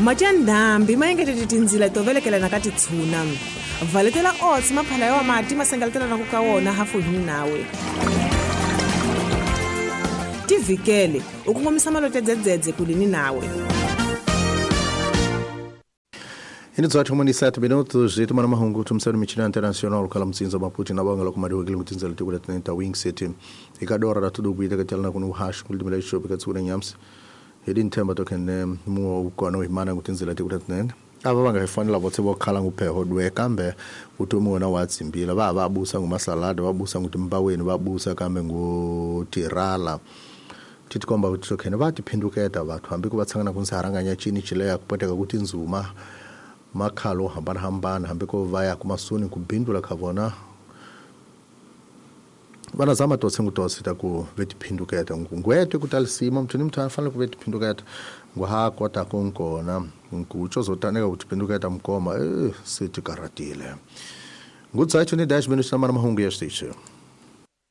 Mati ya ndhambi ma engetete tindzila to velekelana ka titshuna. Valetela otsi maphala ya wa mati ma sengaletelanaku ka wona hafuhini nawe. Tivhikele u kongomisa malote dzedzedze kulini nawe. Hi ni 18 minutos e tumana mahungu tumsani michina internacional kala mtsinza maputi na banga loko madiwekile kutinzela tiko la tinenta wing city ikadora la tudu kuita katyalana kunu hash kulidimela ishopi katsukuna nyamsi hidi nthemba tokene muo ukona uhimana kutinzela tiko la tinenta ava va nga hi fanela votse vo khala ngupheho dwe kambe vutomi wona wa tsimbila va ha va busa ngumasalada va busa ngutimbaweni va busa kambe ngutirala ti tikomba kuti tokhene va tiphinduketa vathu hambi ku va tshangana ku nsaharanganya cini cileya ku poteka ku tindzuma makhalo wo hambanahambana hambi ko va ya kumasuni ku bindula ka vona vana zama tose ngutose ta ku ve tiphinduketa ngwete ku talisima muthu ni muthu a fanele ku ve tiphinduketa ngu ha kota ku nkona nkutsho zotaneka ku tiphinduketa mukoma se ti karatile ngudzacho ni 10 minutos na mana mahungu ya xitichi.